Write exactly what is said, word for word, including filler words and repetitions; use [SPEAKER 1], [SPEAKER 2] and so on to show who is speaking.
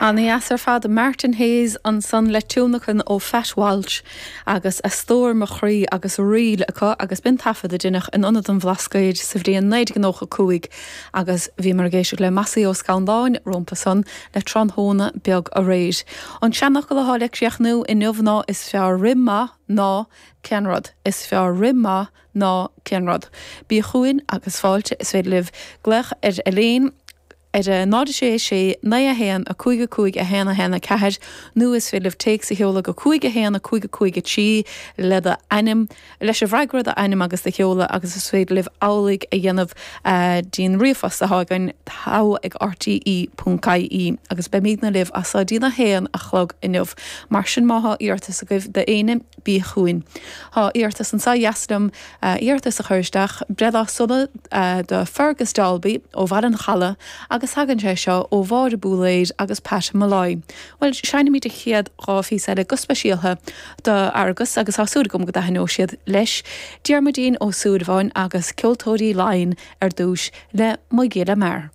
[SPEAKER 1] An-dheas ar fad Martin Hayes ansan le tionlacan ó Phat Walsh agus a stór mo chroí agus ríl acu agus b'in taifead a deineadh in Ionad an Bhlascaoid sa bhliain naoi déag nócha cúig agus bhíomar ag éisteacht le Mossy Ó Scanláin rompu san le tráthnóna beag aréir. An seanfhocal atá le críochnú inniu ná is fearr rith maith ná ceannrud. Is fearr rith maith ná ceannrud. Bí chugainn agus fáilte is féidir libh glaoch ar Elaine ar a náid sé sé naoi a haon a cúig a cúig a haon a haon a ceathair nó is féidir libh téacs a sheoladh go cúig a haon a cúig a cúig a trí le do ainm leis an bhfreagra do ainm agus do sheoladh agus is féidir libh amhlaidh a dhéanamh dtí'n ríomhphost atá againn togha ag RTE ponc IE agus beimidne libh as seo dtí'n a haon a chlog inniu. Mar sin má tá iarratas agaibh d'éinne bí chugainn. Tá iarratas anseo dheas liom iarratas a chur isteach breithlá sona do Fergus Dalby ó Bhaile an Chalaidh agus tagann sé seo ó Mháire Búléid agus Pat Molloy. Well seinnfimid an chéad dhá phíosa eile go speisialta do Fheargus agus tá súil agam go dtaitneoidh siad leis. Diarmuidín Ó Súilleabháin agus ceoltóirí Laighean ar dtús le Mo Ghile Mear.